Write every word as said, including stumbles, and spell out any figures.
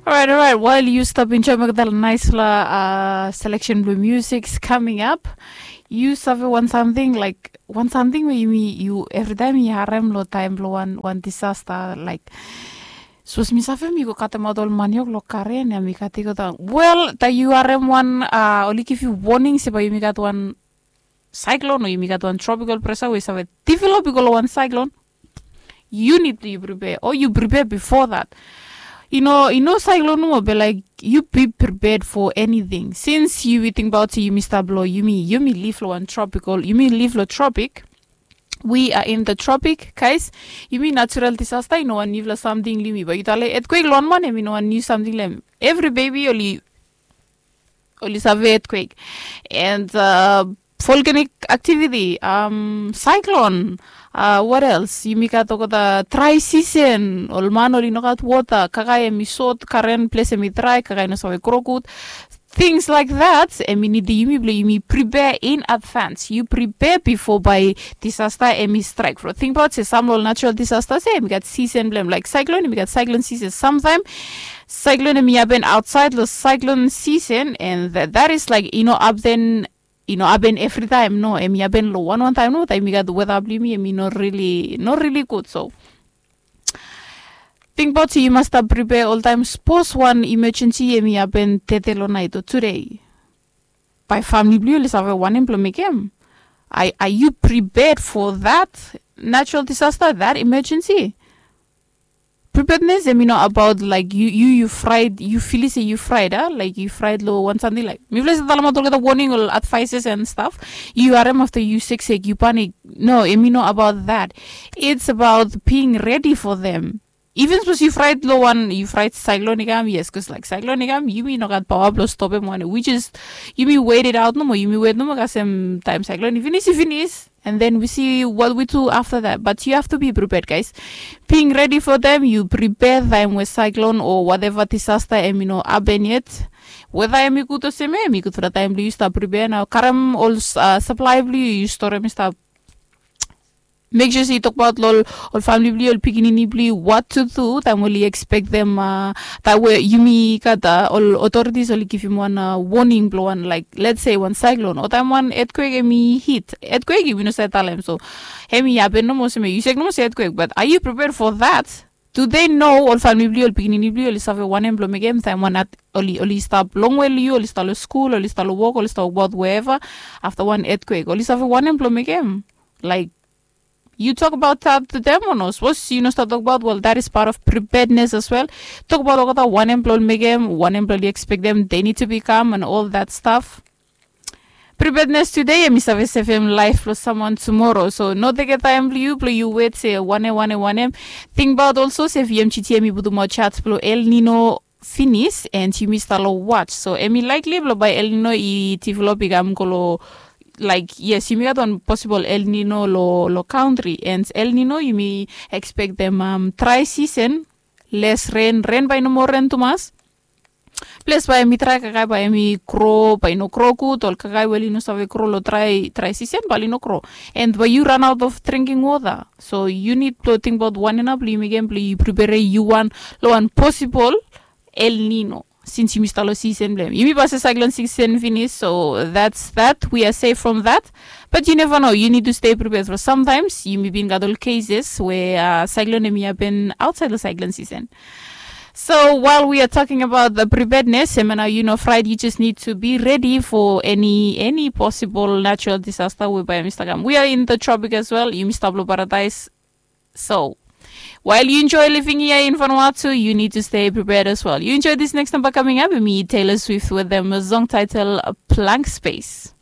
Orait, orait, wael yu stap enjoim olgeta naispela seleksen blong musik is kaming ap, yu save wan samting laik wan samting we yumi yu evritaem yu harem long taem blong wan wan disasta laik, sapos mi save mi go katemaot ol maniok long karen ya mi gat i go daon. Wel taem yu harem wan oli givim woning se bae yumi gat wan saiklon o yumi gat wan tropikal presa we i save develop i go long wan saiklon, yu nid blong yu pripea o yu pripea bifo dat. I no i no saiklon nomo be laik yu bi priped fo eniting sins yu tingbaot se yumi stap long yumi yumi liv long wan tropikal yumi liv long tropik. We are in the tropic kais. Yumi natural disasta i no wan niufala samting long yumi ba yu tale etkwek long wan man em i no wan niu samting long em. Evri bebi oli oli save etkwek and volkanik aktiviti, saiklon, wat els yumi gat olgeta drai sisen ol man oli no gat wota kakae em i sot karen ples em i drai kakae i no save gro gud. Tings laik dat em i nidim yumi blong yumi pripea in advans yu pripea bifo bae disasta em i straik from tingbaot se sam long ol natural disasta se em i gat sisen blong em laik saiklon em i gat saiklon sisen samtaem saiklon em i hapen aotsaed long saiklon sisen and dat is laik i no hapen i no hapen evritaem no em i hapen long wanwan taem no taem i gat weta blong yumi em i no rili no rili gud so tingbaot se yu mas stap pripea oltaem sapos wan imejensi em i hapen tete long naet o tude. Bae famili blong yu oli save wanem blong mekem? Are yu priped fo dat natural disasta dat imejensi? Pripednes em i no abaot laik yu yu yu fraet yu filis se yu fraet a laik yu fraet long wan samting laik mifala i save talemaot olgeta woning ol advaises and staf. Yu harem afta yu seksek yu panik. No em i no abaot dat. It's abaot bing redi fo them. Iven sapos yu fraet long wan yu fraet saiklon i kam yes bikos laik saiklon i kam yumi no gat paoa blong stopem wanem wi jes yumi wet it aot nomo yumi wet nomo kasem taem saiklon i finis i finis. And then wi si wat wi tu afta dat bat yu haftu bi priped gais. Bing redi fo taem yu pripea taem we saiklon o wateva disasta em i no hapen yet. Weta em i gud olsem ya em i gudfala taem blong yu stap pripea nao karem ol saplae blong yu yu storem i stap. Mek sua se yu tokbaot long ol famili blong yu ol pikinini blong yu wat tu tu taem oli ekspektem taem we yumi gat ol otoritis oli givim wan woning blong wan laik let's se wan saiklon o taem wan etkwek em i hit etkwek yumi no save talem so em i hapen nomo olsem ya yu sek nomo se etkwek bat a yu priped fo dat? Tu de no ol famili blong yu ol pikinini blong yu oli save wanem blong mekem taem wan oli oli stap longwe long yu oli stap long skul oli stap long wok oli stap wokbaot weva afta wan etkwek oli save wanem blong mekem? Laik yu tokbaot dat to dem o no sapos yu no stap tokbaot wel dat is pat of pripednes as wel. Tokbaot olgeta wanem blong oli mekem wanem blong oli ekspektem de nid tu bikam and ol dat staf. Pripednes tude em i save sevem laef blong samwan tumoro so no tekem taem blong yu blong yu wet se wanem wanem wanem. Tingbaot olso se vmgt em i putumaot jaj blong el nino finis and yumi stap long waj so em i laikli blong bae el nino i develop i kam go long laik yes yumi gat wan posibol el nino long kantri and el nino yumi ekspektem drai sisen, les ren ren bae i no moa ren tumas. Ples bae em i drai kakae bae em i gro bae i no gro gud ol kakae we oli no save gro long drai drai sisen bae oli no gro. And bae yu ranaot of dringing wota so yu nid blong tingbaot wanem nao blong yu mekem blong yu pripere yu wan long wan posibol el nino. Sins yumi stap long sisen blong em yumi pasim saiklon sisen finis so dats dat wi a sef from dat. Bat yu neva no yu nid tu stei pripea from samtaems yumi bin gat ol keses we saiklon em i hapen aotsaed long saiklon sisen. So wael wi a toking abaot the pripednes em ya nao yu no fraet yu jes nid tu bi redi fo eni eni posibol natural disasta we bae yumi stap kam wi a in the tropik as wel yumi stap long paradaes. So wael yu enjoe living ya in vanua tu yu nid tu stei priped as wel yu enjoe dis neks namba kaming ap em i taylor swift wetem song taitel blank space.